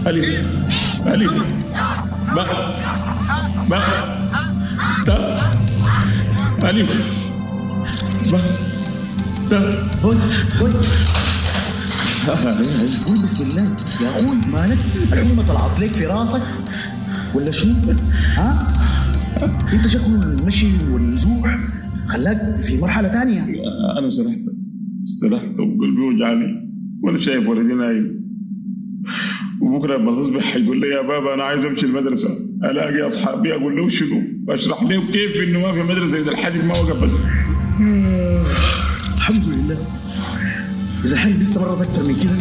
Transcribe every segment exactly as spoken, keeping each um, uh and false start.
ألف ألف باء باء تاء ألف باء تاء. هوي هوي، قول بسم الله يا اخوي، مالك؟ الحمى طلعت لك في راسك ولا شنو؟ ها؟ انت شكله المشي والنزوح خلاك في مرحلة تانية. أنا سرحت سرحت وقلبي وجعني وأنا شايف ولدي نايم، وبكرة لما تصبح حيقول لي يا بابا أنا عايز أمشي المدرسة، ألاقي أصحابي أقول له شنو؟ أشرح لهم كيف إنه ما في مدرسة إذا الحرب ما وقفت. الحمد لله. إذا الحرب دي استمرت أكثر من كده،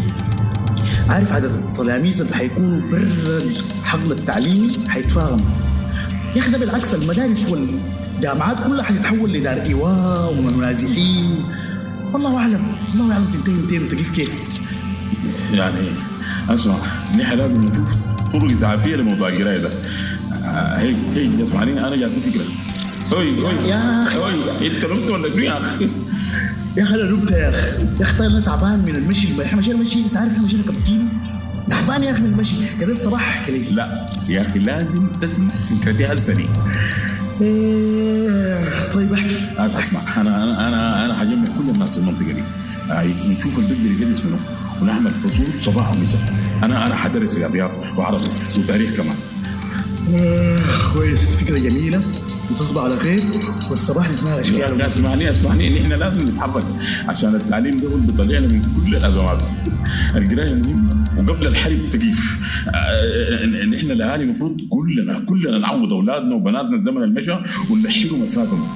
عارف عدد التلاميذ اللي حيكونوا برا الحقل التعليمي حيتفاقم. يا أخي ده بالعكس، المدارس والجامعات كلها حتتحول لدار إيواء ونازحين. والله أعلم، الله أعلم تنتهي متين وتقف كيف. يعني أسمع، نحن لازم نشوف طرق إسعافية لموضوع القراية ده. هي هي اسمعني، أنا جاتني فكرة. هوي هوي يا أخي، هوي، أنت نمت ولا شنو يا أخي؟ يا أخي أنا نمت يا أخي، يا أخي طيب أنا تعبان من المشي، إحنا مشينا مشي، أنت عارف إحنا مشينا كم كيلو؟ تعبان يا أخي من المشي، كده الصباح كده. لا يا أخي لازم تسمع فكرتي هسه دي. إيه، طيب احكي. اسمع، أنا أنا أنا أنا حجمع كل الناس في المنطقة دي، نشوف اللي بيقدر يدرس منه ونعمل فصول صباح ومساء. أنا أنا حدرس رياضيات وعربي وتاريخ كمان. آه، كويس، فكرة جميلة، وتصبح على خير والصباح نتناقش فيها. اسمعني اسمعني، إن إحنا لازم نتحرك عشان التعليم ده هو اللي بيطلعنا من كل الأزمات. القراية مهمة وقبل الحرب تقيف. إن إحنا الأهالي المفروض كلنا كلنا نعوض أولادنا وبناتنا الزمن المشى ونلحقهم الفاتهم.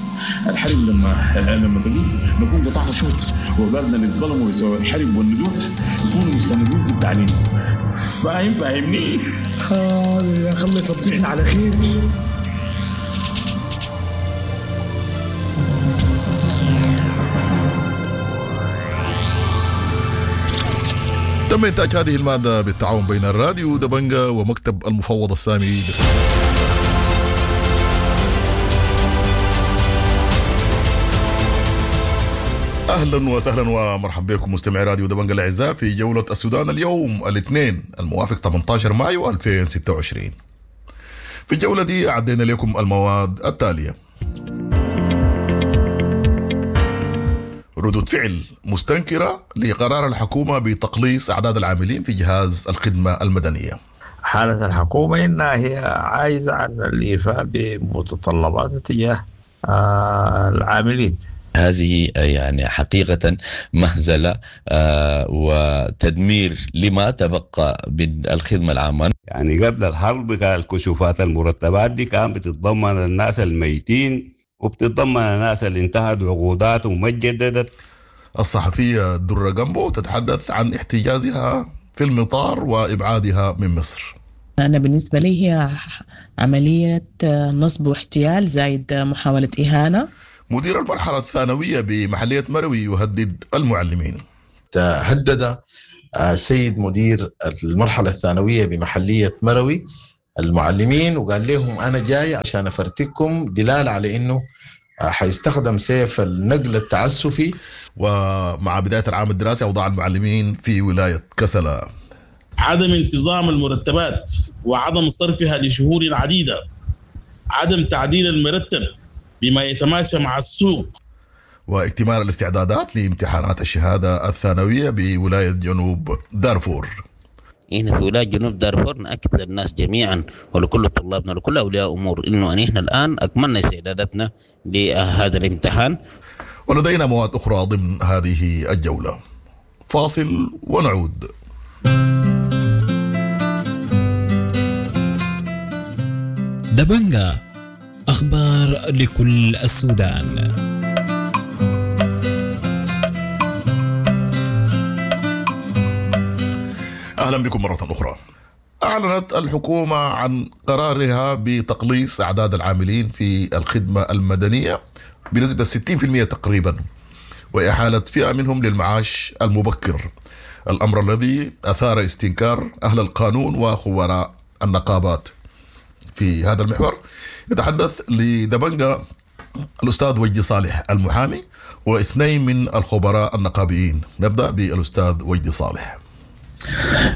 الحرب لما لما تقيف نكون قطعنا شوط، وأولادنا اللي اتظلموا بسبب الحرب والنزوح يكونوا مستمرين في التعليم. فاهم؟ فاهمني؟ آه يا أخي الله يصبحنا على خير. تم إنتاج هذه المادة بالتعاون بين الراديو دبنجا ومكتب المفوض السامي. أهلا وسهلا ومرحبا بكم مستمعي راديو دبنجا الأعزاء في جولة السودان اليوم الاثنين الموافق ثمانية عشر مايو ألفين وستة وعشرين. في الجولة دي أعدينا لكم المواد التالية: ردود فعل مستنكرة لقرار الحكومة بتقليص أعداد العاملين في جهاز الخدمة المدنية. حالة الحكومة إنها هي عايزة عن الإيفاء بمتطلبات تجاه العاملين. هذه يعني حقيقة مهزلة وتدمير لما تبقى من الخدمة العامة. يعني قبل الحرب كان الكشوفات المرتبات دي كان بتتضمن الناس الميتين وبتتضمن الناس اللي انتهت عقوداتهم وما تجددت. الصحفية درة جامبو تتحدث عن احتجازها في المطار وإبعادها من مصر. أنا بالنسبة لي هي عملية نصب واحتيال زائد محاولة إهانة. مدير المرحلة الثانوية بمحلية مروي يهدد المعلمين. هدد السيد مدير المرحلة الثانوية بمحلية مروي المعلمين وقال لهم أنا جاي عشان أفرتكم، دلالة على إنه حيستخدم سيف النقل التعسفي. ومع بداية العام الدراسي أوضاع المعلمين في ولاية كسلا. عدم انتظام المرتبات وعدم صرفها لشهور عديدة، عدم تعديل المرتب بما يتماشى مع السوق، واكتمال الاستعدادات لامتحانات الشهادة الثانوية بولاية جنوب دارفور. إحنا في ولاية جنوب دارفور نأكد للناس جميعا ولكل طلابنا ولكل أولياء أمور إنه أن إحنا الآن أكملنا استعداداتنا لهذا الامتحان. ولدينا مواد أخرى ضمن هذه الجولة. فاصل ونعود. دبنجا، أخبار لكل السودان. أهلا بكم مرة أخرى. أعلنت الحكومة عن قرارها بتقليص أعداد العاملين في الخدمة المدنية بنسبة ستين بالمئة تقريبا، وإحالة فئة منهم للمعاش المبكر، الأمر الذي أثار استنكار أهل القانون وخبراء النقابات. في هذا المحور يتحدث لدبنجا الأستاذ وجدي صالح المحامي واثنين من الخبراء النقابيين. نبدأ بالأستاذ وجدي صالح.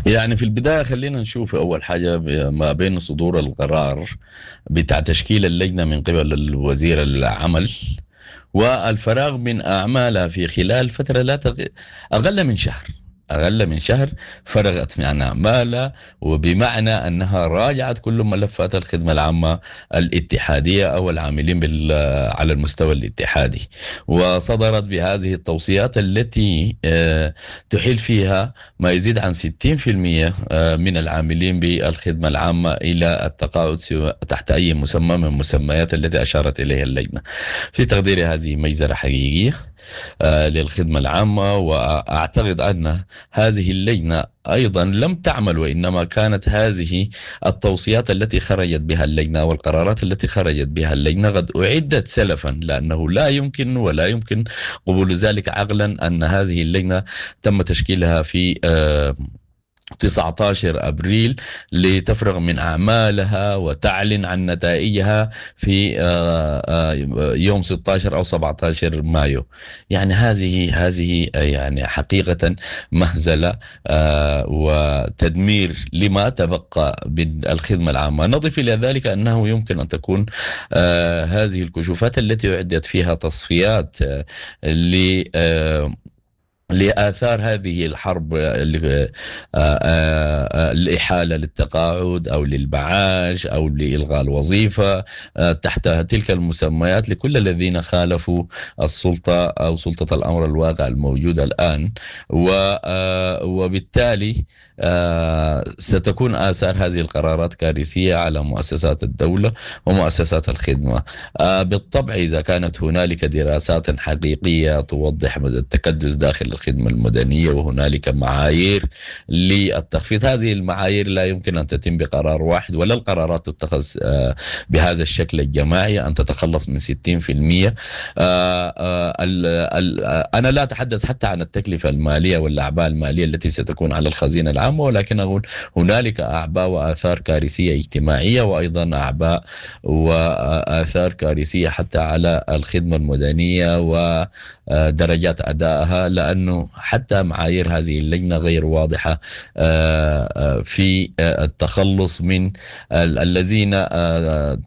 يعني في البداية خلينا نشوف أول حاجة ما بين صدور القرار بتاع تشكيل اللجنة من قبل الوزير العمل والفراغ من أعمالها في خلال فترة لا تغ... أقل من شهر أقل من شهر فرغت من أعمالها، وبمعنى أنها راجعت كل ملفات الخدمة العامة الاتحادية أو العاملين بال... على المستوى الاتحادي، وصدرت بهذه التوصيات التي تحيل فيها ما يزيد عن ستين بالمئة من العاملين بالخدمة العامة إلى التقاعد تحت أي مسمى من المسميات التي أشارت إليها اللجنة. في تقديري هذه مجزرة حقيقية للخدمة العامة، وأعتقد أن هذه اللجنة أيضا لم تعمل، وإنما كانت هذه التوصيات التي خرجت بها اللجنة والقرارات التي خرجت بها اللجنة قد أعدت سلفا، لأنه لا يمكن ولا يمكن قبول ذلك عقلا أن هذه اللجنة تم تشكيلها في تسعة عشر أبريل لتفرغ من أعمالها وتعلن عن نتائجها في يوم ستة عشر أو سبعة عشر مايو. يعني هذه هذه يعني حقيقة مهزلة وتدمير لما تبقى بالخدمة العامة. نضيف إلى ذلك أنه يمكن أن تكون هذه الكشوفات التي أعدت فيها تصفيات ل لآثار هذه الحرب، الإحالة للتقاعد أو للمعاش أو لإلغاء الوظيفة تحت تلك المسميات لكل الذين خالفوا السلطة أو سلطة الأمر الواقع الموجودة الآن، وبالتالي ستكون آثار هذه القرارات كارثية على مؤسسات الدولة ومؤسسات الخدمة. بالطبع إذا كانت هنالك دراسات حقيقية توضح مدى التكدس داخل الخدمة المدنية وهنالك معايير للتخفيض، هذه المعايير لا يمكن أن تتم بقرار واحد، ولا القرارات تتخذ بهذا الشكل الجماعي أن تتخلص من ستين بالمئة. أنا لا أتحدث حتى عن التكلفة المالية والأعباء المالية التي ستكون على الخزينة العامة، ولكن أقول هنالك أعباء وآثار كارثية اجتماعية، وأيضا أعباء وآثار كارثية حتى على الخدمة المدنية ودرجات أدائها، لأنه حتى معايير هذه اللجنة غير واضحة في التخلص من الذين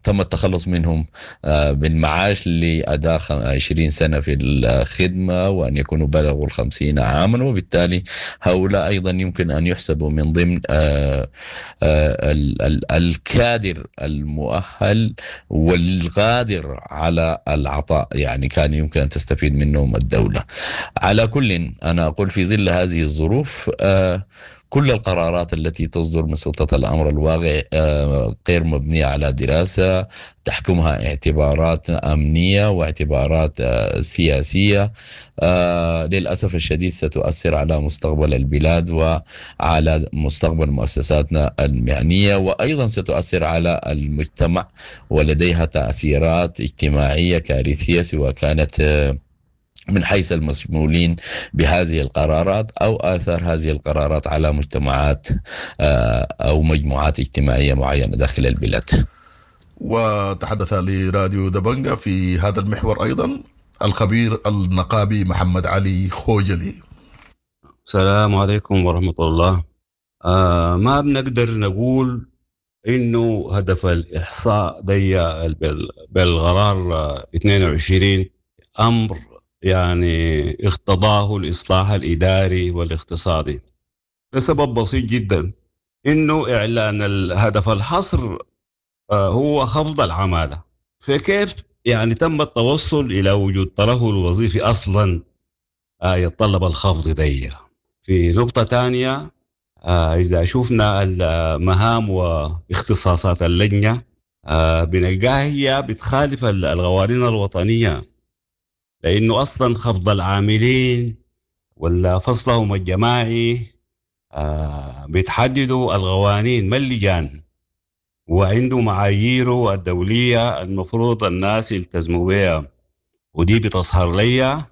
تم التخلص منهم بالمعاش لأداء عشرين سنة في الخدمة وأن يكونوا بلغوا الخمسين عاما، وبالتالي هؤلاء أيضا يمكن أن يحسبوا من ضمن الكادر المؤهل والقادر على العطاء، يعني كان يمكن أن تستفيد منهم الدولة. على كل أنا أقول في ظل هذه الظروف كل القرارات التي تصدر من سلطة الأمر الواقع غير مبنية على دراسة تحكمها اعتبارات أمنية واعتبارات سياسية، للأسف الشديد ستؤثر على مستقبل البلاد وعلى مستقبل مؤسساتنا المهنية، وأيضا ستؤثر على المجتمع ولديها تأثيرات اجتماعية كارثية، سواء كانت من حيث المشمولين بهذه القرارات أو آثار هذه القرارات على مجتمعات أو مجموعات اجتماعية معينة داخل البلاد. وتحدث لراديو دبنجة في هذا المحور أيضا الخبير النقابي محمد علي خوجلي. السلام عليكم ورحمة الله. آه ما بنقدر نقول إنه هدف الإحصاء دي بالقرار اثنين وعشرين أمر يعني اقتضاه الإصلاح الإداري والاقتصادي، لسبب بسيط جدا، إنه إعلان الهدف الحصر هو خفض العمالة، فكيف يعني تم التوصل إلى وجود ترهل وظيفي أصلا يتطلب الخفض دي. في نقطة ثانية، إذا شفنا المهام واختصاصات اللجنة بنلقاها هي بتخالف القوانين الوطنية، لأنه أصلاً خفض العاملين ولا فصلهم الجماعي آه بيتحددوا القوانين ما اللجان، وعنده معاييره الدولية المفروض الناس يلتزموا بها، ودي بتظهر لي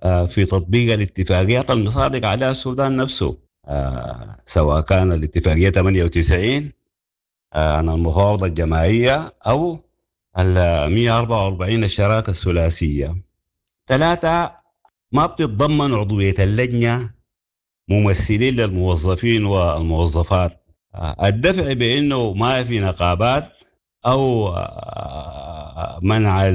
آه في تطبيق الاتفاقيات المصادق عليها السودان نفسه، آه سواء كان الاتفاقية ثمانية وتسعين آه عن المفاوضة الجماعية أو ال مئة وأربعة وأربعين الشراكة الثلاثية. ثلاثة، ما بتتضمن عضوية اللجنة ممثلين للموظفين والموظفات. الدفع بأنه ما في نقابات أو منع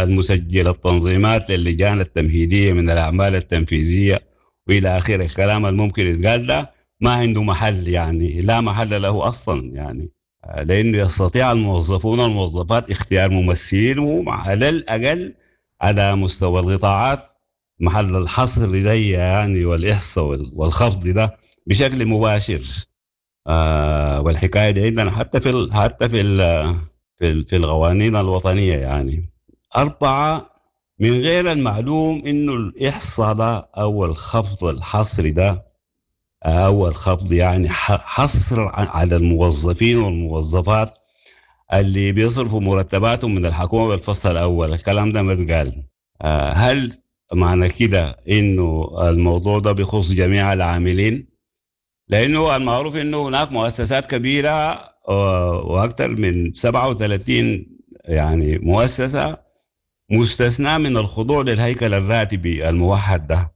المسجل التنظيمات للجان التمهيدية من الأعمال التنفيذية وإلى آخره، الكلام الممكن يتقال ده ما عنده محل، يعني لا محل له أصلا، يعني لأنه يستطيع الموظفون والموظفات اختيار ممثلين على الأقل على مستوى القطاعات محل الحصر ده يعني والإحصاء والخفض ده بشكل مباشر. آه والحكاية دي عندنا حتى في ال حتى في ال في, في القوانين الوطنية. يعني أربعة، من غير المعلوم إنه الإحصاء ده أو الخفض الحصري ده أو الخفض يعني حصر على الموظفين والموظفات اللي بيصرفوا مرتباتهم من الحكومة بالفصل الأول، الكلام ده ما اتقال. آه هل معنى كده إنه الموضوع ده بيخص جميع العاملين؟ لأنه المعروف إنه هناك مؤسسات كبيرة وأكثر من سبعة وثلاثين يعني مؤسسة مستثناة من الخضوع للهيكل الراتبي الموحد ده،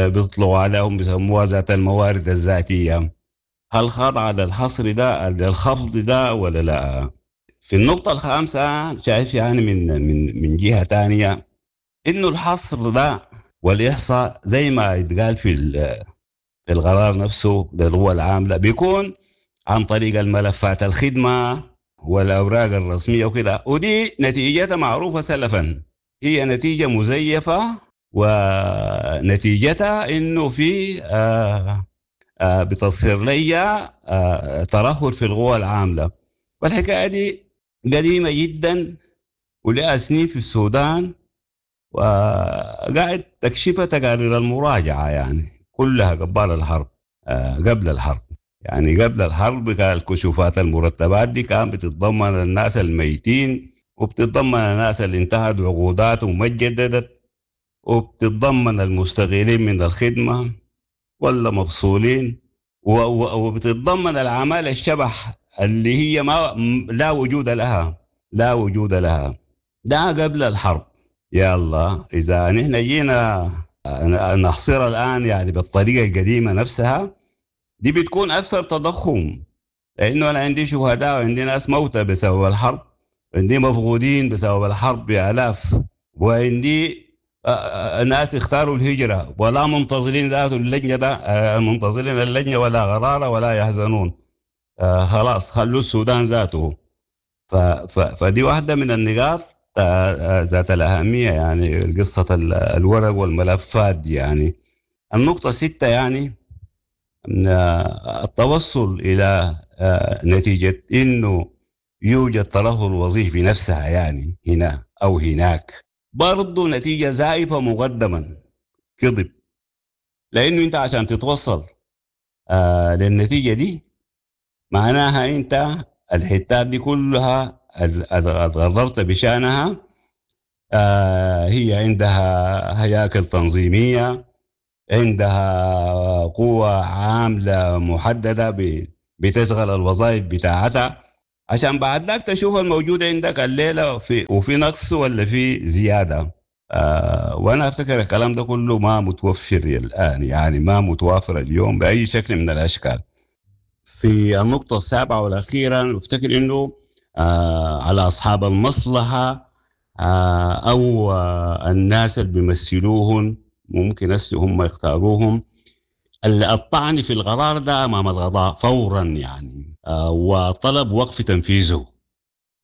بيطلقوا عليهم بيسموها ذات الموارد الذاتية. هل خاضعة للحصر ده للخفض ده ولا لا؟ في النقطة الخامسة شايف يعني من من من جهة ثانية إنه الحصر ده والإحصاء زي ما يتقال في في القرار نفسه للقوى العاملة بيكون عن طريق الملفات الخدمة والأوراق الرسمية وكده، ودي نتيجتها معروفة سلفا، هي نتيجة مزيفة ونتيجتها إنه في آآ آآ بتصير لي ترهل في القوى العاملة. والحكاية دي قديمة جدا ولها سنين في السودان، وقاعد تكشفها تقارير المراجعة يعني كلها قبل الحرب، قبل الحرب يعني قبل الحرب كان الكشوفات المرتبات دي كان بتتضمن الناس الميتين، وبتتضمن الناس اللي انتهت عقوداتهم وما اتجددت، وبتتضمن المستغيلين من الخدمة ولا مفصولين، وبتتضمن العمالة الشبح اللي هي ما لا وجود لها، لا وجود لها. ده قبل الحرب. يلا إذا نحن جينا نحصرها الآن يعني بالطريقة القديمة نفسها دي بتكون أكثر تضخم، لأنه أنا عندي شهداء وعندي ناس موتى بسبب الحرب، عندي مفقودين بسبب الحرب بآلاف، وعندي ناس اختاروا الهجرة ولا منتظرين ذاته اللجنة ده، منتظرين اللجنة ولا غرارة ولا يحزنون، خلاص خلوا السودان ذاته. فدي واحدة من النقاط ذات الأهمية، يعني قصة الورق والملفات دي. يعني النقطة ستة يعني التوصل إلى نتيجة إنه يوجد ترهل وظيفي نفسها يعني هنا أو هناك برضو نتيجة زائفة مقدما، كذب، لأنه أنت عشان تتوصل للنتيجة دي معناها أنت الحتات دي كلها غررت بشانها، هي عندها هياكل تنظيمية، عندها قوة عاملة محددة بتشغل الوظائف بتاعتها، عشان بعد ذاك تشوف الموجود عندك الليلة في وفي نقص ولا في زيادة. آه وأنا أفتكر الكلام ده كله ما متوفر الآن، يعني ما متوافر اليوم بأي شكل من الأشكال. في النقطة السابعة والأخيرة أفتكر إنه آه على أصحاب المصلحة آه أو آه الناس اللي بيمثلوهم ممكن هسه هم يختاروهم الطعن في القرار ده أمام القضاء فورا يعني، آه وطلب وقف تنفيذه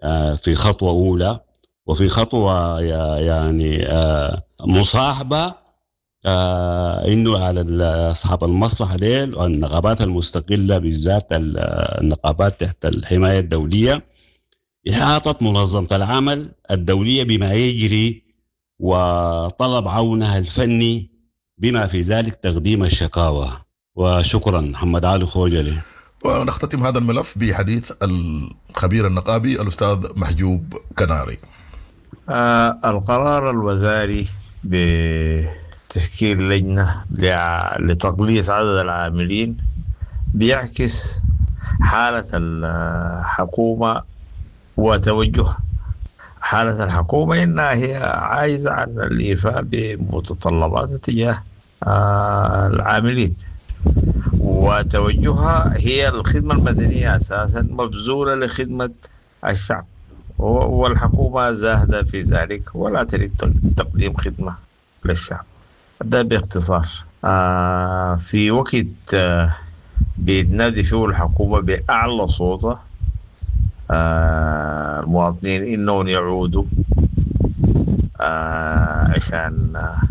آه في خطوة أولى، وفي خطوة يعني آه مصاحبة آه إنه على أصحاب المصلحة ديل والنقابات المستقلة بالذات النقابات تحت الحماية الدولية إحاطة منظمة العمل الدولية بما يجري وطلب عونها الفني بما في ذلك تقديم الشكاوى. وشكرا محمد علي خوجلي. ونختتم هذا الملف بحديث الخبير النقابي الأستاذ محجوب كناري. آه القرار الوزاري بتشكيل لجنة لتقليص عدد العاملين بيعكس حالة الحكومة وتوجهها. حالة الحكومة إنها هي عايزة عن الإيفاء بمتطلبات تجاه آه العاملين، وتوجهها هي الخدمة المدنية أساسا مبذولة لخدمة الشعب، والحكومة زاهدة في ذلك ولا تريد تقديم خدمة للشعب. ده باختصار. آه في وقت آه بتنادي فيه الحكومة بأعلى صوتها آه المواطنين إنهم يعودوا آه عشان آه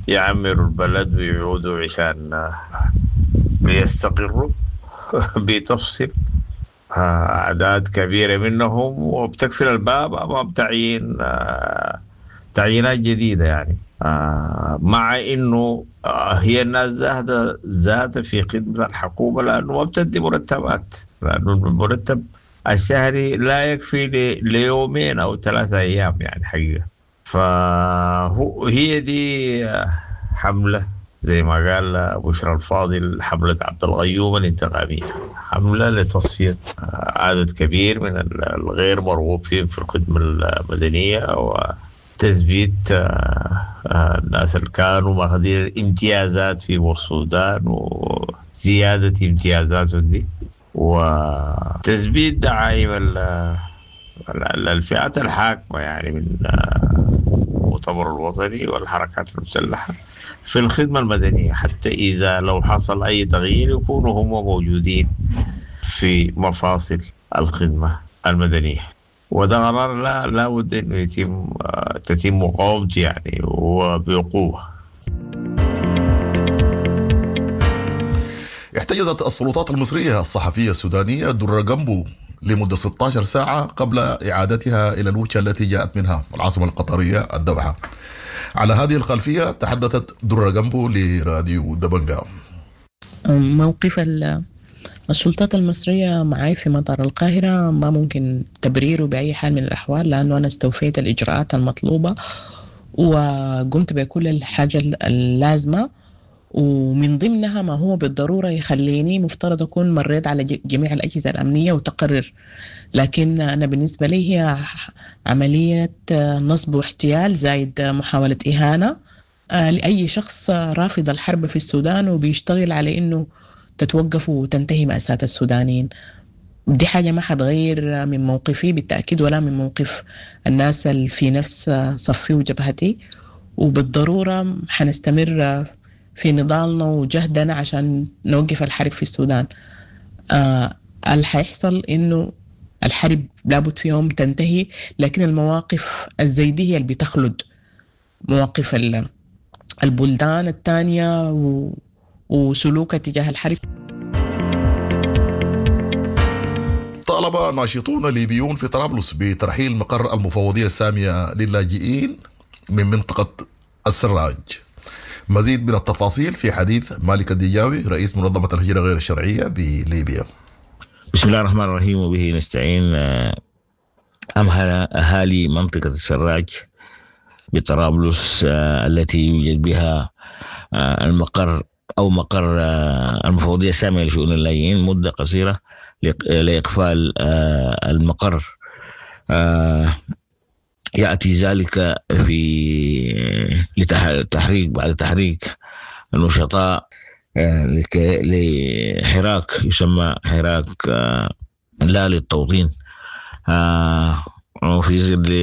يعمروا البلد ويعودوا عشان آه يستقروا بتفصل آه أعداد كبيرة منهم وبتقفل الباب أمام تعيين آه تعيينات جديدة يعني آه مع إنه آه هي الناس زاهدة ذاتها في خدمة الحكومة، لأنه ما بتدي مرتبات، لأنه المرتب الشهري لا يكفي ليومين أو ثلاثة أيام يعني حقيقة. فهو هي دي حملة زي ما قال بشرى الفاضل، حملة عبد الغيوم الانتقامية، حملة لتصفية عدد كبير من الغير مرغوب فيهم في الخدمة المدنية وتثبيت الناس اللي كانوا ماخذين الامتيازات في السودان وزيادة امتيازاتهم دي، وتثبيت دعائم الفئات الحاكمة يعني من المؤتمر الوطني والحركات المسلحة في الخدمة المدنية، حتى إذا لو حصل أي تغيير يكونوا هم موجودين في مفاصل الخدمة المدنية. وده قرار لا لا بد إنه يتم تتم مقاومته يعني وبقوة. احتجزت السلطات المصرية الصحفية السودانية درة جنبو لمدة ستة عشر ساعة قبل إعادتها إلى الوجهة التي جاءت منها العاصمة القطرية الدوحة. على هذه الخلفية تحدثت درة جنبو لراديو دبنجا. موقف السلطات المصرية معي في مطار القاهرة ما ممكن تبريره بأي حال من الأحوال، لأنه أنا استوفيت الإجراءات المطلوبة وقمت بكل الحاجة اللازمة، ومن ضمنها ما هو بالضرورة يخليني مفترض أكون مريت على جميع الأجهزة الأمنية وتقرر. لكن أنا بالنسبة لي هي عملية نصب واحتيال زايد محاولة إهانة لأي شخص رافض الحرب في السودان وبيشتغل على إنه تتوقف وتنتهي مأساة السودانيين. دي حاجة ما حتغير من موقفي بالتأكيد ولا من موقف الناس اللي في نفس صفي وجبهتي، وبالضرورة حنستمر في نضالنا وجهدنا عشان نوقف الحرب في السودان. آه اللي حيحصل إنه الحرب لابد في يوم تنتهي، لكن المواقف الزيدية هي اللي بتخلد مواقف البلدان الثانية و... وسلوكها تجاه الحرب. طالب ناشطون ليبيون في طرابلس بترحيل مقر المفوضية السامية للاجئين من منطقة السراج. مزيد من التفاصيل في حديث مالك الدجاوي رئيس منظمة الهجرة غير الشرعية بليبيا. بسم الله الرحمن الرحيم وبه نستعين. أمهل أهالي منطقة السراج بطرابلس التي يوجد بها المقر أو مقر المفوضية السامية لشؤون اللاجئين مدة قصيرة لإقفال المقر. يأتي ذلك في لتحريك بعد تحريك النشطاء لحراك يسمى حراك لا للتوطين. وفي ظل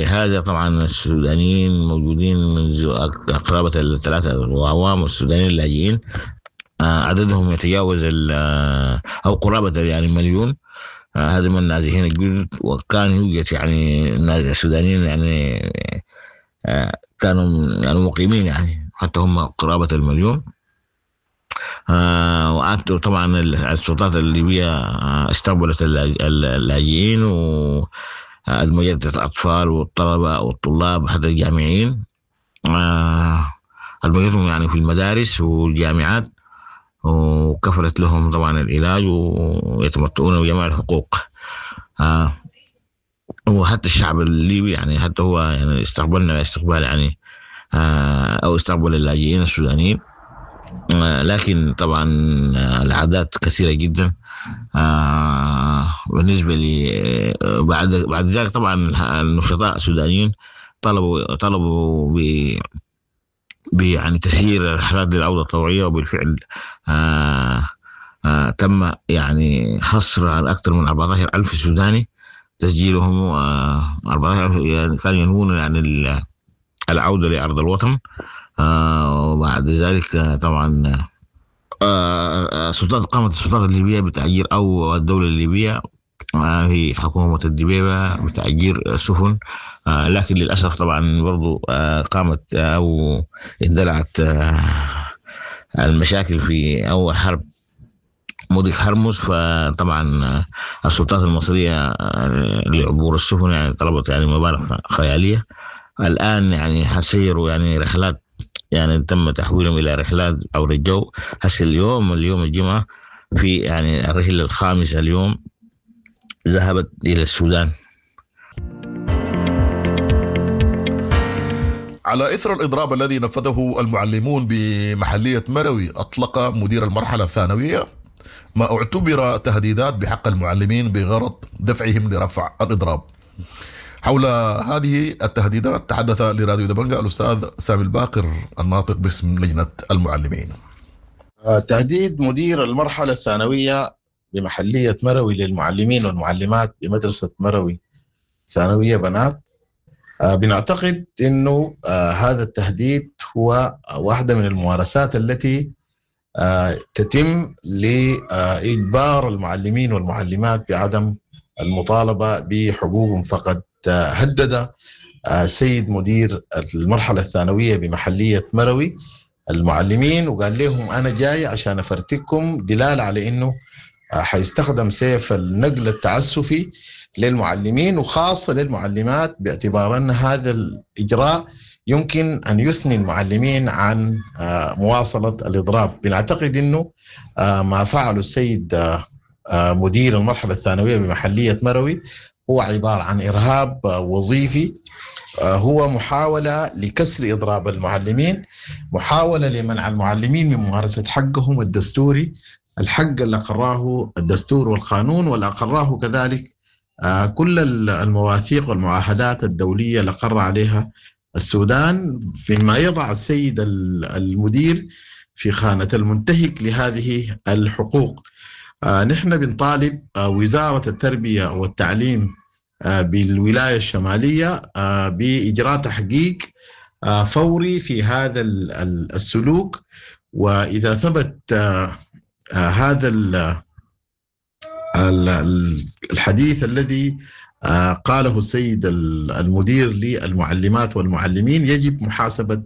هذا طبعا السودانيين موجودين منذ قرابة الثلاثة أعوام، والسودانيين اللاجئين عددهم يتجاوز أو قرابة يعني مليون. هذا من النازحين الجدد، وكان يوجد يعني السودانيين يعني كانوا يعني مقيمين يعني حتى هم قرابة المليون. وقعدت طبعا السلطات الليبية استقبلت اللاجئين وأدمجت الأطفال والطلبة والطلاب حتى الجامعيين، أدمجتهم يعني في المدارس والجامعات، وكفلت لهم طبعا العلاج ويتمتعون بجميع الحقوق. آه وحتى الشعب الليبي يعني حتى هو يعني استقبلنا استقبال يعني آه او استقبل اللاجئين السودانيين. آه لكن طبعا العادات كثيره جدا. آه بالنسبه لي بعد بعد ذلك طبعا النشطاء السودانيين طلبوا طلبوا ب يعني تسيير الرحلات للعودة الطوعية، وبالفعل آه آه تم يعني حصر على أكثر من أربعة عشر ألف سوداني تسجيلهم، آه أربعة عشر ألف يعني كانوا ينوون يعني العودة لأرض الوطن. آه وبعد ذلك آه طبعا آه السلطات قامت السلطات الليبية بتأجير أو الدولة الليبية آه في حكومة الدبيبة بتأجير سفن، آه لكن للأسف طبعا برضو آه قامت أو اندلعت آه المشاكل في أول حرب مضيق هرمز. فطبعا السلطات المصرية لعبور السفن يعني طلبت يعني مبالغ خيالية. الآن يعني حسيروا يعني رحلات، يعني تم تحويلهم إلى رحلات عبر الجو. هسه اليوم اليوم الجمعة في يعني الرحلة الخامسة اليوم ذهبت إلى السودان. على إثر الإضراب الذي نفذه المعلمون بمحلية مروي، أطلق مدير المرحلة الثانوية ما اعتبر تهديدات بحق المعلمين بغرض دفعهم لرفع الإضراب. حول هذه التهديدات تحدث لراديو دبنجا الأستاذ سامي الباقر الناطق باسم لجنة المعلمين. تهديد مدير المرحلة الثانوية بمحلية مروي للمعلمين والمعلمات بمدرسة مروي ثانوية بنات، بنعتقد أنه هذا التهديد هو واحدة من الممارسات التي تتم لإجبار المعلمين والمعلمات بعدم المطالبة بحقوقهم. فقد هدد سيد مدير المرحلة الثانوية بمحلية مروي المعلمين وقال لهم أنا جاي عشان أفرتكم، دلالة على أنه حيستخدم سيف النقل التعسفي للمعلمين وخاصة للمعلمات، باعتبار أن هذا الإجراء يمكن أن يثني المعلمين عن مواصلة الإضراب. بنعتقد أنه ما فعله السيد مدير المرحلة الثانوية بمحلية مروي هو عبارة عن إرهاب وظيفي، هو محاولة لكسر إضراب المعلمين، محاولة لمنع المعلمين من ممارسة حقهم الدستوري، الحق اللي أقراه الدستور والقانون واللي أقراه كذلك كل المواثيق والمعاهدات الدولية اللي أقر عليها السودان، فيما يضع السيد المدير في خانة المنتهك لهذه الحقوق. نحن بنطالب وزارة التربية والتعليم بالولاية الشمالية بإجراء تحقيق فوري في هذا السلوك، وإذا ثبت هذا الحديث الذي قاله السيد المدير للمعلمات والمعلمين يجب محاسبة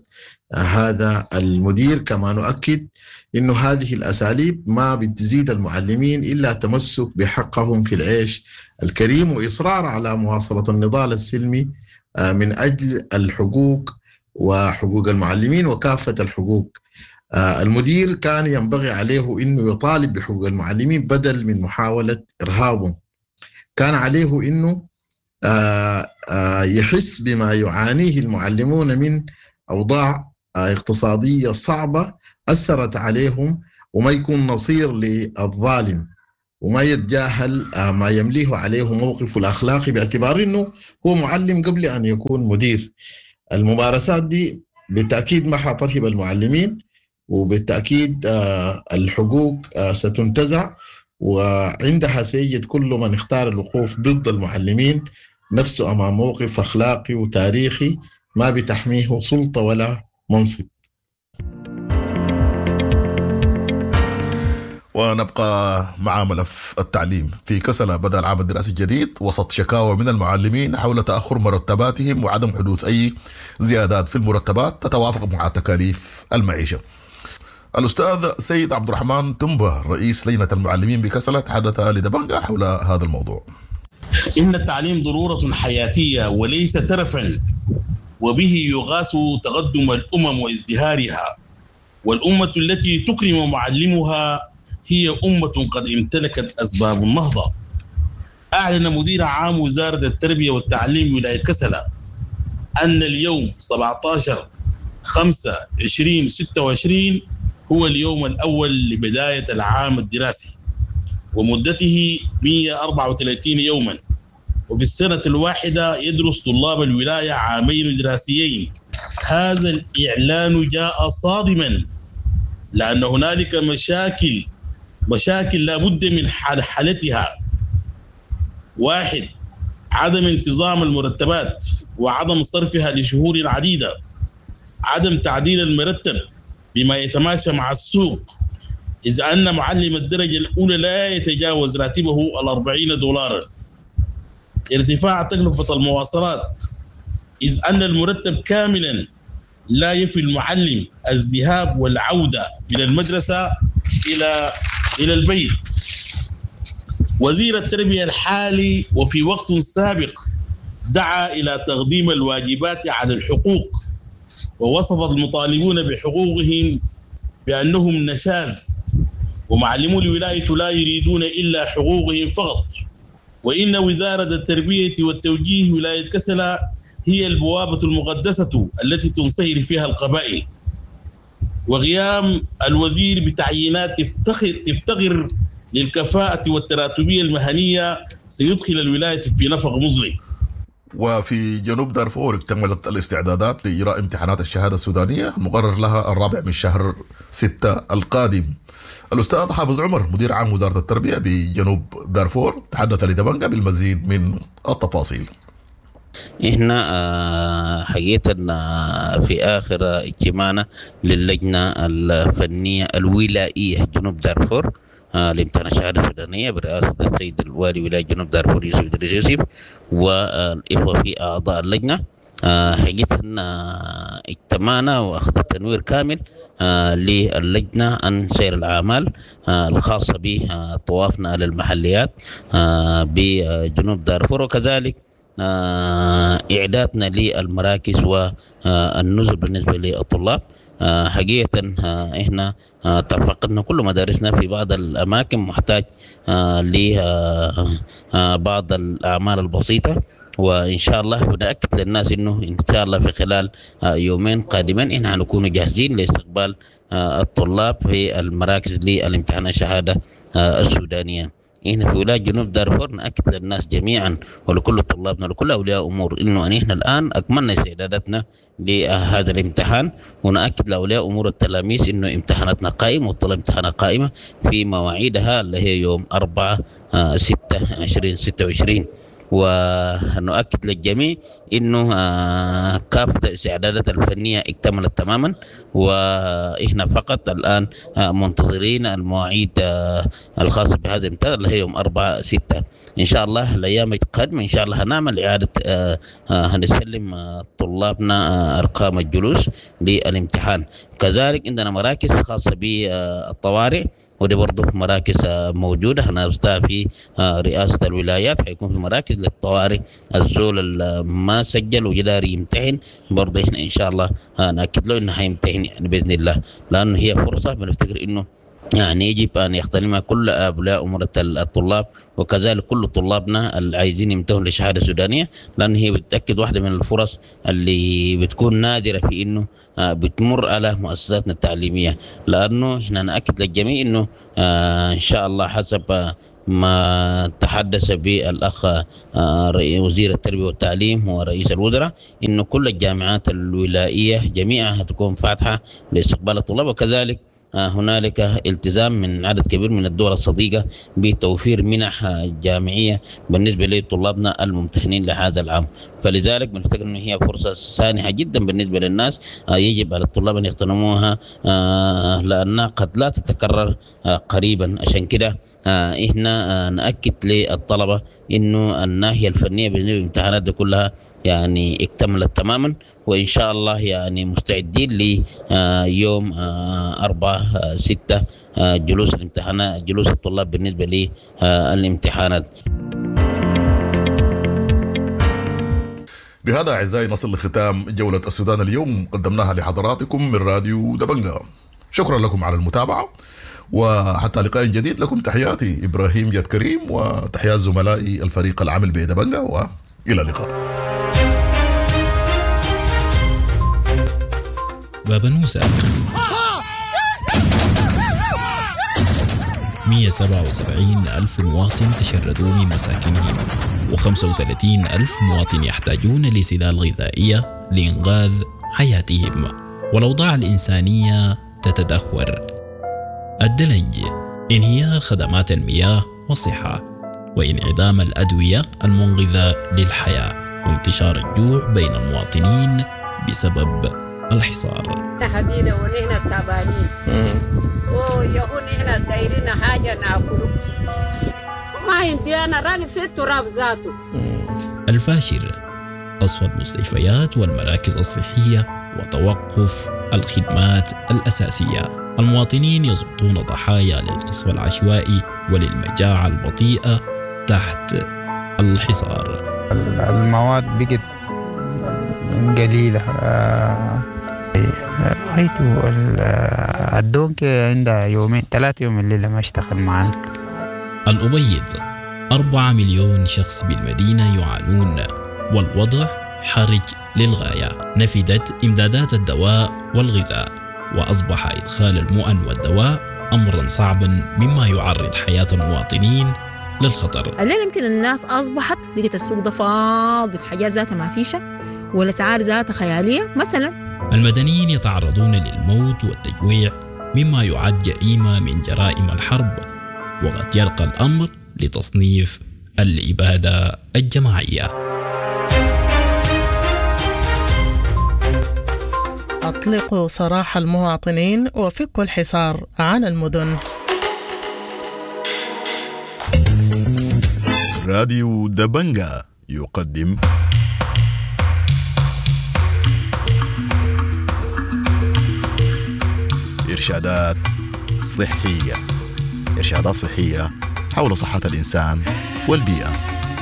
هذا المدير. كما نؤكد أنه هذه الأساليب ما بتزيد المعلمين إلا تمسك بحقهم في العيش الكريم وإصرار على مواصلة النضال السلمي من أجل الحقوق وحقوق المعلمين وكافة الحقوق. المدير كان ينبغي عليه أنه يطالب بحقوق المعلمين بدل من محاولة إرهابهم. كان عليه أنه يحس بما يعانيه المعلمون من أوضاع اقتصادية صعبة أثرت عليهم، وما يكون نصير للظالم، وما يتجاهل ما يمليه عليه موقفه الأخلاقي باعتبار أنه هو معلم قبل أن يكون مدير. الممارسات دي بالتأكيد ما حترهب المعلمين، وبالتأكيد الحقوق ستنتزع، وعندها سيجد كل من اختار الوقوف ضد المعلمين نفسه أمام موقف أخلاقي وتاريخي ما بتحميه سلطة ولا منصب. ونبقى مع ملف التعليم. في كسلة بدأ العام الدراسي الجديد وسط شكاوى من المعلمين حول تأخر مرتباتهم وعدم حدوث أي زيادات في المرتبات تتوافق مع تكاليف المعيشة. الأستاذ سيد عبد الرحمن تنبه رئيس لجنة المعلمين بكسلة تحدث لدبنجة حول هذا الموضوع. إن التعليم ضرورة حياتية وليس ترفا، وبه يغاس تقدم الأمم وازدهارها، والأمة التي تكرم معلمها هي أمة قد امتلكت أسباب النهضة. أعلن مدير عام وزارة التربية والتعليم ولاية كسلة أن اليوم سبعة عشر خمسة عشرين ستة وعشرين هو اليوم الأول لبداية العام الدراسي ومدته مئة وأربعة وثلاثين يوما، وفي السنة الواحدة يدرس طلاب الولاية عامين دراسيين. هذا الإعلان جاء صادما لأن هنالك مشاكل مشاكل لا بد من حلحلتها. واحد، عدم انتظام المرتبات وعدم صرفها لشهور عديدة، عدم تعديل المرتب بما يتماشى مع السوق، إذ أن معلم الدرجة الأولى لا يتجاوز راتبه الأربعين دولارا، ارتفاع تكلفة المواصلات، إذ أن المرتب كاملا لا يفي المعلم الذهاب والعودة من المدرسة إلى إلى البيت. وزير التربية الحالي وفي وقت سابق دعا إلى تقديم الواجبات على الحقوق، ووصف المطالبون بحقوقهم بأنهم نشاز، ومعلمو الولاية لا يريدون إلا حقوقهم فقط. وإن وزارة التربية والتوجيه ولاية كسلا هي البوابة المقدسة التي تنصهر فيها القبائل. وغيام الوزير بتعيينات تفتخر, تفتقر للكفاءة والتراتبية المهنية سيدخل الولاية في نفق مظلم. وفي جنوب دارفور اكتملت الاستعدادات لإجراء امتحانات الشهادة السودانية المقرر لها الرابع من شهر ستة القادم. الأستاذ حافظ عمر مدير عام وزارة التربية بجنوب دارفور تحدث لدبنجة بالمزيد من التفاصيل. احنا حقيقة في آخر اجتماعنا للجنة الفنية الولائية جنوب دارفور لامتحان الشهادة السودانية برئاسة السيد الوالي ولاية جنوب دارفور يوسف إدريس يوسف والإخوة في أعضاء اللجنة، حقيقة اجتمعنا وأخذ تنوير كامل للجنة عن سير الأعمال الخاصة بطوافنا للمحليات بجنوب دارفور، وكذلك إعدادنا للمراكز والنزل بالنسبة للطلاب. حقيقة إحنا تفقدنا كل مدارسنا في بعض الأماكن محتاج لبعض الأعمال البسيطة، وإن شاء الله بنأكد للناس إنه إن شاء الله في خلال يومين قادمين إحنا هنكون جاهزين لاستقبال الطلاب في المراكز للامتحان الشهادة السودانية. إحنا في ولاية جنوب دارفور نأكد للناس جميعا ولكل طلابنا ولكل أولياء أمور إنه أن إحنا الآن أكملنا استعداداتنا لهذا الامتحان، ونأكد لأولياء أمور التلاميذ إنه امتحاناتنا قائمة والطلاب امتحانات قائمة في مواعيدها اللي هي يوم أربعة ستة عشرين ستة وعشرين. ونؤكد للجميع انه كافة الاستعدادات الفنية اكتملت تماما، واحنا فقط الان منتظرين المواعيد الخاصة بهذا الامتحان اللي هي يوم أربعة ستة ان شاء الله. الايام القادمة ان شاء الله هنعمل اعادة، هنسلم طلابنا ارقام الجلوس للامتحان. كذلك عندنا مراكز خاصة بالطوارئ، ودي برضه مراكز موجودة هنفتحها في رئاسة الولايات، حيكون في مراكز للطوارئ، الزول اللي ما سجل وجدار يمتحن برضه احنا إن شاء الله نأكد له إنه حيمتحن يعني بإذن الله، لأنه هي فرصة بنفتكر إنه يعني يجب أن يغتنمها كل أولياء أمور الطلاب، وكذلك كل طلابنا اللي عايزين يمتهنوا للشهادة السودانية، لأن هي بتأكد واحدة من الفرص اللي بتكون نادرة في إنه بتمر على مؤسساتنا التعليمية. لأنه إحنا نأكد للجميع إنه إن شاء الله حسب ما تحدث به الأخ وزير التربية والتعليم ورئيس الوزراء إنه كل الجامعات الولائية جميعها تكون فاتحة لاستقبال الطلاب، وكذلك هنالك التزام من عدد كبير من الدول الصديقة بتوفير منح جامعية بالنسبة لطلابنا الممتحنين لهذا العام. فلذلك بنفتكر أن هي فرصة سانحة جدا بالنسبة للناس، يجب على الطلاب أن يغتنموها لأنها قد لا تتكرر قريبا. عشان كده إحنا نأكد للطلبة إنه الناحية الفنية بالنسبة للامتحانات دي كلها يعني اكتملت تماما، وإن شاء الله يعني مستعدين ليوم أربعة ستة جلوس الامتحانات، جلوس الطلاب بالنسبة للامتحانات. بهذا أعزائي نصل لختام جولة السودان اليوم قدمناها لحضراتكم من راديو دبنجا. شكرا لكم على المتابعة، وحتى لقاء جديد لكم تحياتي إبراهيم جاد كريم وتحيات زملائي الفريق العامل بدبنجا، وإلى اللقاء. بابنوسة مئة وسبعة وسبعين ألف مواطن تشردوا من مساكنهم، وخمسة وثلاثين ألف مواطن يحتاجون لسلال غذائية لإنقاذ حياتهم، والأوضاع الإنسانية تتدهور. الدلنج انهيار خدمات المياه والصحة، وانعدام الأدوية المنقذة للحياة، وانتشار الجوع بين المواطنين بسبب الحصار. حبينا ونحن تعبانين ويهون نحن دايرين حاجة ناكله ما عندي أنا راني في التراب ذاته. الفاشر قصف المستشفيات والمراكز الصحية وتوقف الخدمات الأساسية. المواطنين يسقطون ضحايا للقصف العشوائي وللمجاعة البطيئة تحت الحصار. المواد بقت قليلة. رأيت الدونك عندها يومين ثلاثة يوم الليلة ما اشتغل معنا. الأبيض أربعة مليون شخص بالمدينة يعانون والوضع حرج للغاية. نفدت إمدادات الدواء والغذاء، وأصبح إدخال المؤن والدواء أمرا صعبا مما يعرض حياة المواطنين للخطر. الليلة يمكن الناس أصبحت لقيت السوق ده فاضي، الحاجات ذاتها ما فيشة والأسعار ذاتها خيالية مثلا. المدنيين يتعرضون للموت والتجويع مما يعد جريمة من جرائم الحرب، وقد يرقى الأمر لتصنيف الإبادة الجماعية. أطلقوا سراح المواطنين وفكوا الحصار عن المدن. راديو دبنجا يقدم إرشادات صحية. إرشادات صحية حول صحة الإنسان والبيئة.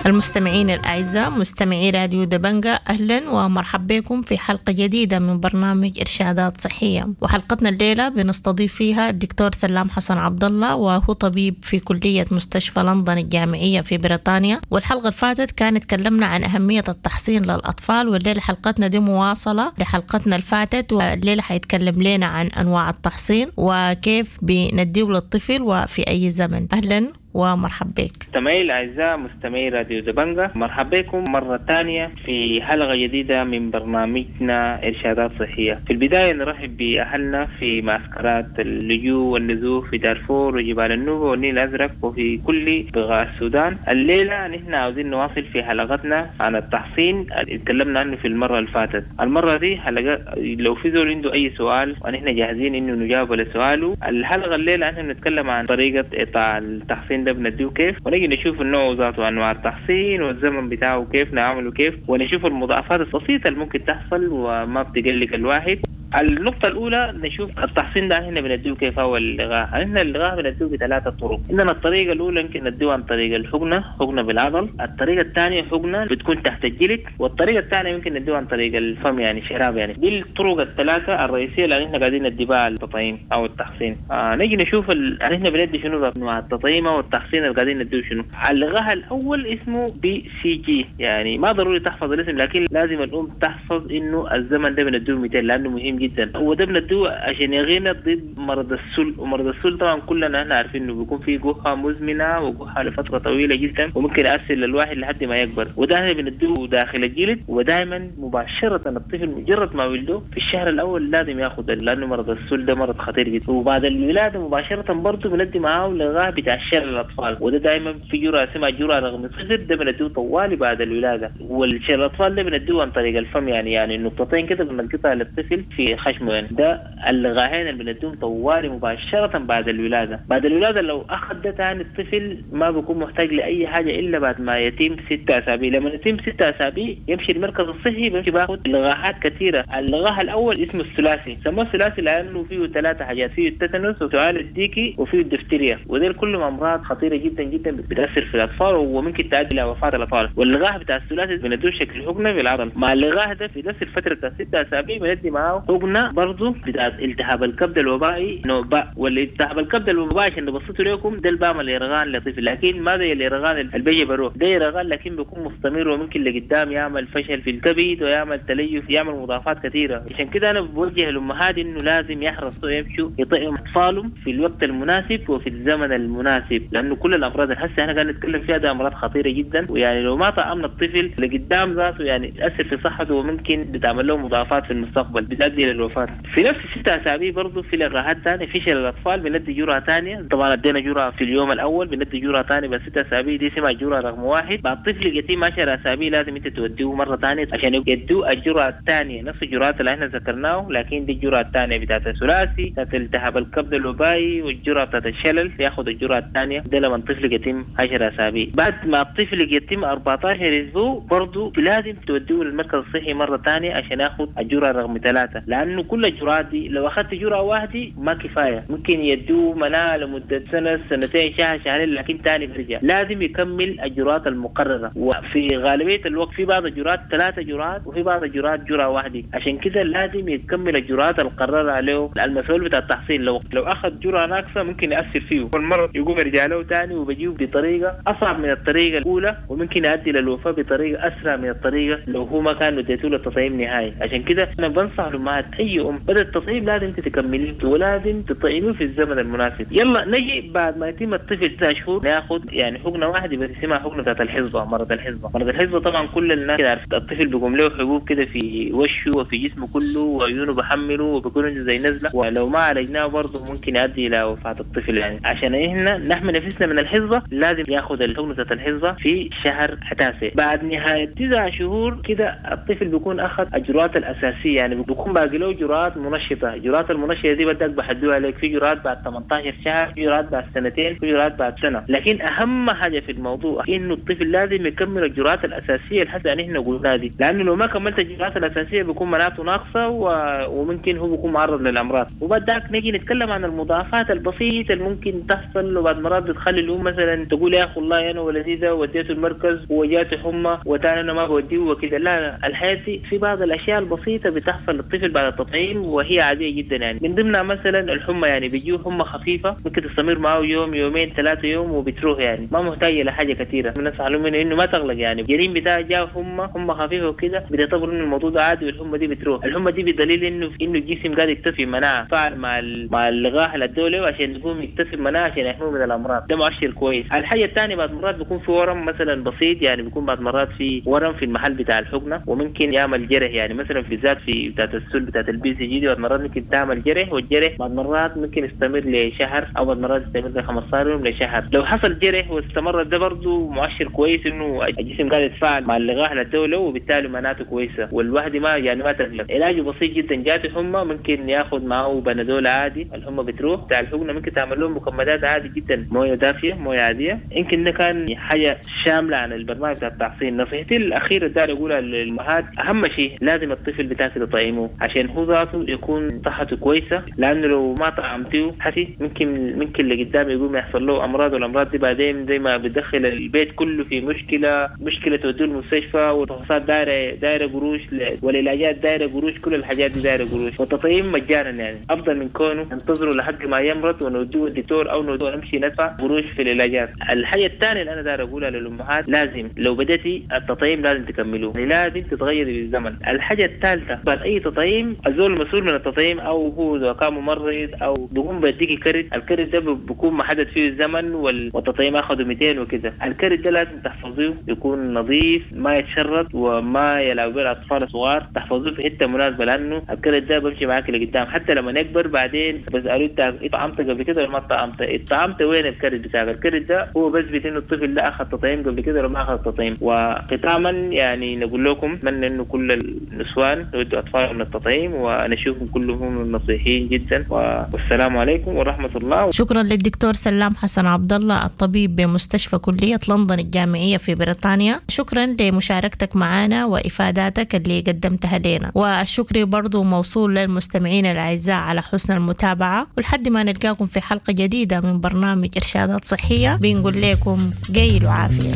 المستمعين الأعزاء مستمعي راديو دبنجا، أهلا ومرحبا بكم في حلقة جديدة من برنامج إرشادات صحية. وحلقتنا الليلة بنستضيف فيها الدكتور سلام حسن عبد الله، وهو طبيب في كلية مستشفى لندن الجامعية في بريطانيا. والحلقة اللي فاتت كانت تكلمنا عن أهمية التحصين للأطفال، والليلة حلقتنا دي مواصلة لحلقتنا اللي فاتت، والليلة حيتكلم لنا عن أنواع التحصين وكيف بنديه للطفل وفي أي زمن. أهلا ومرحبا بك. مستمعي الأعزاء مستمعي راديو دبنجا، مرحبا بكم مرة ثانية في حلقة جديدة من برنامجنا إرشادات صحية. في البداية نرحب بأهلنا في معسكرات اللجوء والنزوح في دارفور وجبال النوبة والنيل الأزرق وفي كل بقاع السودان. الليلة نحن عاوزين نواصل في حلقتنا عن التحصين اللي تكلمنا عنه في المرة اللي فاتت. المرة دي حلقة لو في زول عنده أي سؤال ونحن جاهزين إنه نجاوب على سؤاله. الحلقة الليلة نحن بنتكلم عن طريقة إعطاء التحصين ده بنديه كيف، ونجي نشوف النوع ذاته وانواع التحصين والزمن بتاعه كيف نعمله كيف، ونشوف المضاعفات البسيطه اللي ممكن تحصل وما بتقلق الواحد. النقطة الأولى نشوف التحصين ده احنا بنديه كيف هو اللقاح. احنا اللقاح بنديه بثلاثة طرق. عندنا الطريقة الأولى يمكن نديه عن طريق الحقنة، حقنة بالعضل. الطريقة الثانية حقنة بتكون تحت الجلد، والطريقة الثانية يمكن نديه عن طريق الفم يعني شراب يعني. دي الطرق الثلاثة الرئيسية اللي احنا قاعدين ندي بها التطعيم أو التحصين. آه نجي نشوف ال... احنا بندي شنو أنواع التطعيم أو التحصين اللي قاعدين نديه شنو. اللقاح الأول اسمه BCG، يعني ما ضروري تحفظ الاسم لكن لازم الأم تحفظ إنه الزمن ده بنديه مئتين لأنه مهم جدا. وده بندوه عشان يغينا ضد مرض السل، ومرض السل طبعا كلنا احنا عارفين انه بيكون فيه جحة مزمنه وجحة لفتره طويله جدا وممكن يأثر للواحد لحد ما يكبر. وده احنا بندوه داخل الجلد، ودائما مباشره الطفل مجرد ما ولده في الشهر الاول لازم ياخذ، لانه مرض السل ده مرض خطير جدا. وبعد الولاده مباشره برضه بندي معاه لقاح بتاع الشلل للاطفال، وده دائما في جرعه اسمها جرعه رقم صفر، ده بندوه طوالي بعد الولاده. والشلل الاطفال ده بندوه عن طريق الفم يعني يعني نقطتين كده بنلقطها للطفل في خشمه يعني. ده اللقاحين اللي بنديهم طوالي مباشرة بعد الولادة. بعد الولادة لو أخذ ده تاني الطفل ما بيكون محتاج لأي حاجة إلا بعد ما يتم ستة أسابيع. لما يتم ستة أسابيع يمشي المركز الصحي بيمشي باخد لقاحات كثيرة. اللقاح الأول اسمه الثلاثي، سموه الثلاثي لأنه فيه ثلاثة حاجات، فيه التتنس وسعال الديكي وفيه الدفتيريا، ودول كلهم أمراض خطيرة جدا جدا بتأثر في الأطفال وممكن تؤدي إلى وفاة الأطفال. واللقاح بتاع الثلاثي بندوه شكل حقنة بالعضل. مع اللقاح ده في نفس الفترة بتاع ستة أسابيع بندي معاه حقنة برضه بتاعت التهاب الكبد الوبائي نوع باء. والالتهاب الكبد الوبائي عشان نبسطه لكم ده البام الإرغان لطفل، لكن ما زي الإرغان اللي بيجي بروح، ده إرغان لكن بيكون مستمر وممكن لقدام يعمل فشل في الكبد ويعمل تليف، يعمل مضاعفات كثيرة. عشان كده أنا بوجه الأمهات إنه لازم يحرصوا يمشوا يطعموا أطفالهم في الوقت المناسب وفي الزمن المناسب، لأنه كل الأمراض اللي هسه احنا قاعدين نتكلم فيها ده أمراض خطيرة جدا، ويعني لو ما طعمنا الطفل لقدام ذاته يعني تأثر في صحته وممكن بتعمل له مضاعفات في المستقبل بتؤدي الى الوفاة. في نفس الست اسابيع برضه في لقاحات ثانية، في شلل الاطفال بندي جرعة ثانية، طبعا ادينا جرعة في اليوم الاول، بندي جرعة ثانية بس ست اسابيع، دي اسمها جرعة رقم واحد. بعد الطفل يتم عشر اسابيع لازم انت توديه مرة ثانية عشان يدوه الجرعة الثانية، نفس الجرعات اللي احنا ذكرناه، لكن دي الجرعة الثانية بتاعت الثلاثي، بتاعت التهاب الكبد الوبائي، والجرعه بتاعت الشلل، ياخذ الجرعة الثانية ده لما الطفل يتم عشر اسابيع. بعد ما الطفل يتم أربعتاشر اسبوع برضه لازم توديه للمركز الصحي مرة ثانية عشان ياخذ الجرعة رقم ثلاثة، لانه كل الجرعات دي لو اخذت جرعة واحدة ما كفاية، ممكن يدوه مناعة لمدة سنة سنتين شهر شهرين، لكن ثاني بيرجع لازم يكمل الجرعات المقررة. وفي غالبية الوقت في بعض الجرعات ثلاثة جرعات وفي بعض الجرعات جرعة واحدة، عشان كده لازم يكمل الجرعات المقررة عليه المسؤول بتاع التحصيل. لو لو اخذ جرعة ناقصه ممكن ياثر فيه والمرض يقوم يرجع له ثاني وبيجيه بطريقة اصعب من الطريقة الاولى، وممكن يؤدي للوفاه بطريقة اسرع من الطريقة لو هو ما كان اديته له التطعيم نهائي. عشان كده انا بنصح الامهات اي ام بدا التطعيم لازم تكمليه ولازم تطعميه في الزمن المناسب. يلا نجي بعد ما يتم الطفل تسع شهور ناخذ يعني حقنه واحدة بس اسمها حقنه بتاعت الحصبة، مرض الحصبة. مرض الحصبة طبعا كل الناس كده عارف، الطفل بيقوم له حبوب كده في وشه وفي جسمه كله وعيونه بحمله وبيكون عنده زي نزله، ولو ما عالجناه برضه ممكن يؤدي الى وفاه الطفل. يعني عشان احنا نحمي نفسنا من الحصبة لازم ياخذ الحقنة بتاعت الحصبة في شهر تاسع. بعد نهاية تسع شهور كده الطفل بيكون اخذ الجرعات الاساسية، يعني بيكون باقي له جرعات منشطه. الجرعات المنشطه دي بدك بحدوها عليك، في جرعات بعد ثمانية عشر شهر، في جرعات بعد سنتين، في جرعات بعد سنة. لكن اهم حاجة في الموضوع انه الطفل لازم يكمل الجرعات الاساسية اللي حتى نحن قلناها دي، لانه لو ما كملت الجرعات الاساسية بيكون مناعته ناقصه و... وممكن هو بيكون معرض للامراض. وبعد ذاك نجي نتكلم عن المضاعفات البسيطة اللي ممكن تحصل، وبعد مرات بتخلي الام مثلا تقول يا اخي والله انا ولدي ده وديته المركز وجاته حمى وتاني انا ما بوديه وكده. لا لا، الحياة دي في بعض الاشياء البسيطة بتحصل للطفل بعد التطعيم وهي عادية جدا. يعني من ضمنها مثلا الحمى، يعني بيجيه حمى خفيفة ممكن تستمر معه يوم يومين ثلاثة يوم وبتروح، يعني ما محتاجه لحاجة كثيرة. بنصح لهم انه ما تغلق، يعني الجريم بتاع جاء حمى حمى خفيفة وكده بتعتبر انه الموضوع ده عادي والحمى دي بتروح. الحمى دي بدليل انه انه الجسم قاعد يكتسب مناعة فعل مع مع اللقاح اللي ادوه عشان يقوم يكتسب مناعة عشان يحميه من الامراض، ده مؤشر كويس. الحاجة الثانية بعد مرات بيكون في ورم مثلا بسيط، يعني بيكون بعد مرات في ورم في المحل بتاع الحقنة وممكن يعمل جرح، يعني مثلا في ذات في بتاعت السل بتاعت ال BCG دي بعد مرات ممكن تعمل جرح، والجرح بعد مرات ممكن يستمر لشهر او بعد مرات يستمر ل خمستاشر يوم لشهر. لو حصل جرح واستمر ده برضه مؤشر كويس انه الجسم قاعد يتفاعل مع اللقاح اللي ادوه وبالتالي مناعته كويسة والواحد ما يعني ما تقلق. علاجه بسيط جدا، جاته حمى ممكن ياخذ معه بنادول عادي الحمى بتروح. بتاع الحقنة ممكن تعمل لهم مكمدات عادي جدا، مويه دافيه مويه عادية. يمكن ده كان حاجة شاملة عن البرنامج بتاع التحصين. نصيحتي الاخيرة داير اقولها للامهات، اهم شيء لازم الطفل بتاعك تطعمه عشان هو ذاته يكون صحته كويسة، لانه لو ما طعمتيه حسي ممكن ممكن اللي قدام يقوم يحصل له امراض، والامراض دي بعدين زي ما بتدخل البيت كله في مشكلة، مشكلة توديه المستشفى والفحوصات دايرة دايرة قروش والعلاجات دايرة قروش، كل الحاجات دي دايرة قروش. والتطعيم مجانا يعني افضل من كونه ننتظره لحد ما يمرض ونوديه الدكتور او نوديه نمشي ندفع قروش في العلاجات. الحاجة الثانية اللي انا داير اقولها للامهات، لازم لو بدأتي التطعيم لازم تكملوه، يعني لازم تتغيري بالزمن. الحاجة الثالثة بعد اي تطعيم الزول المسؤول من التطعيم او هو اذا كان ممرض او بيقوم بيديكي كرت، الكرت ده بيكون محدد فيه الزمن والتطعيم اخذه مئتين وكده. الكرت ده لازم تحفظيه يكون نظيف ما يتشرط وما يلعب به الاطفال الصغار، تحفظوه في حتة مناسبة لانه الكرت ده بمشي معاك لقدام حتى لما يكبر. بعدين بسالوه انت طعمت قبل كده ولا ما طعمت؟ طعمت وين الكرت بتاعك؟ الكرت ده هو بثبت انه الطفل ده اخذ تطعيم قبل كده ولا ما اخذ تطعيم. وختاما يعني نقول لكم اتمنى انه كل النسوان يودوا اطفالهم للتطعيم ونشوفهم كلهم نصيحين جدا، والسلام عليكم ورحمة الله. شكرا للدكتور سلام حسن عبد الله الطبيب بمستشفى كليه لندن الجامعية في بريطانيا، شكرا لمشاركتك معنا وافاداتك اللي قدمتها لنا، والشكر برضو موصول للمستمعين الاعزاء على حسن المتابعة، ولحد ما نلقاكم في حلقة جديدة من برنامج ارشادات صحية بنقول لكم قيل وعافيه.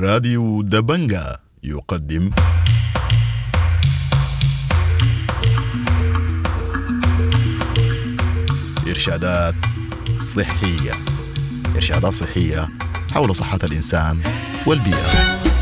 راديو دبنجا يقدم إرشادات صحية، إرشادات صحية حول صحة الإنسان والبيئة.